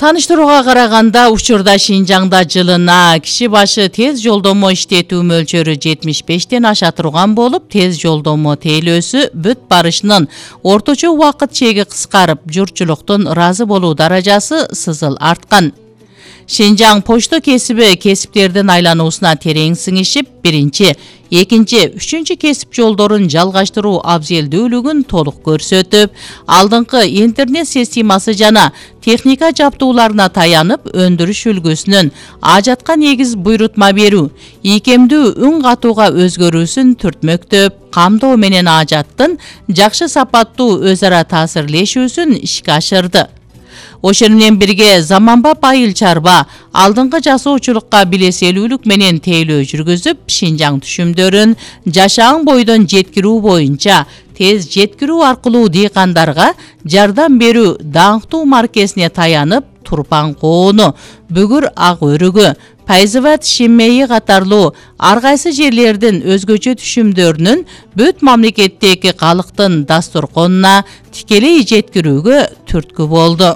Таныштырууга караганда учурда Шинжаңда жылына киши башы тез жолдомо иштетүү мөлчөрү 75тен аша турган болуп, тез жолдомо тейлөөсү бүт барышынын орточо убакыт чеги кыскарып, журтчулуктун ыраазы болуу даражасы сызыл арткан. Шинжаң почто кесиби кесиптердин айлануусуна терең сиңишип, биринчи, экинчи, үчүнчү кесип жолдорун жалгаштыруу абзелдүүлүгүн толук көрсөтүп, алдыңкы интернет системасы жана техника жабдууларына таянып, өндүрүш үлгүсүнүн ажатка негиз буйрутма берүү, ийкемдүү үн катууга өзгөрүүсүн түртмөктөп, камдоо менен ажаттын жакшы сапаттуу өз ара таасирлешүүсүн ишке ашырды. Ошону менен бирге заманбап айыл чарба алдыңкы жасоочулукка билеселүүлүк менен тейлөө жүргүзүп, Шинжаң түшүмдөрүн жашаан бойдон жеткирүү боюнча тез жеткирүү аркылуу дыйкандарга жардам берүү даңктуу маркесине таянып, Турпан коону, Бүгүр ак өрүгү, Пайзыбат Шиммейи катарлуу ар кайсы жерлердин өзгөчө түшүмдөрүнүн бүт мамлекеттеги калктын дасторконуна тикелей жеткирүүгө түрткү болду.